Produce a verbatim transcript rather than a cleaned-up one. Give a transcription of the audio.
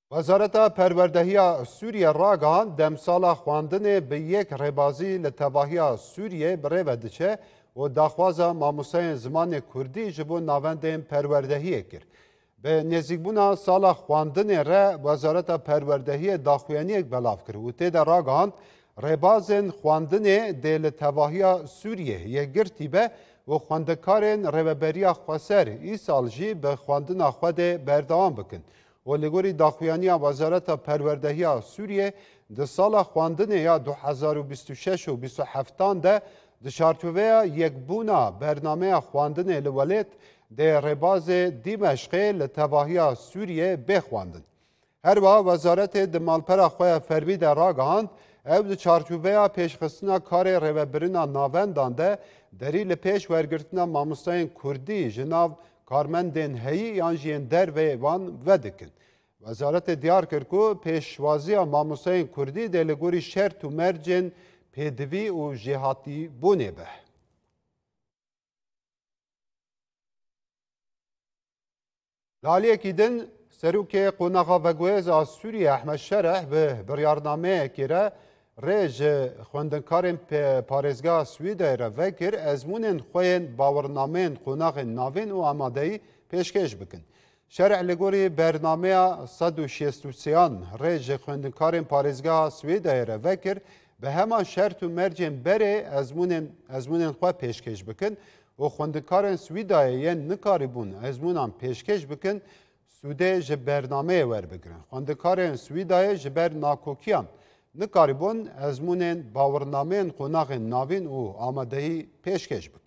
Wezareta Perwerdehiya Sûriye ragihand, demsala xwendinê bi yek rêbazî li tevahiya Sûriyê bi rê ve diçe û daxwaza mamosteyên zimanê kurdî ji bo navendên perwerdehiyê kir. Bi nêzîkbûna sala xwendinê re Wezareta Perwerdehiyê daxuyaniyek belav kir û tê de ragihand, rêbazên xwendinê dê li tevahiya Sûriyê yekgirtî be û xwendekarên Rêveberiya Xweser îsal jî bi xwendina xwe dê berdewam bikin. Û li gorî daxuyaniya Wezareta Perwerdehiya Sûriyê, di sala xwendinê ya du hezar û bîst û şeş û bîst û heftan de di çarçoveya yekbûna bernameya xwendinê li welêt dê rêbazê Dîmeşqê li tevahiya Sûriyê bê xwendin. Her wiha wezaretê di malpera xwe ya fermî de ragihand, ew di çarçoveya pêşxistina karê rêvebirina navendan de derî li pêş wergirtina mamosteyên kurdî ji nav karmendên heyî yan jî yên derveyê wan vedikin. Wezaretê diyar kir ku pêşwaziya mamosteyên kurdî dê li gorî şert û mercên pêdivî û jêhatîbûnê be. Li aliyekî din, Serokê Qonaxa Veguhêz a Sûriyê Ehmed Şereh bi biryarnameyekê re rê ji xwendinkarên pe-, parêzgeha Swîdayê re vekir, ezmûnên xwe yên bawirnameyên qonaxên navîn û amadeyî pêşkêş bikin. Şereh li gorî bernameya sed û şêst û sêyan rê ji xwendinkarên parêzgeha Swîdayê re vekir, bi hema şert û mercên berê ezmûnên, ezmûnên xwe pêşkêş bikin û xwendinkarên Swîdayê yên nikarîbûn ezmûnan pêşkêş bikin, sûdê ji bernameyê werbigirin. Xwendekarên Swîdayê ji ber nakokiyan nikarîbûn ezmûnên bawirnameyên qonaxên navîn û amadeyî pêşkêş bikin.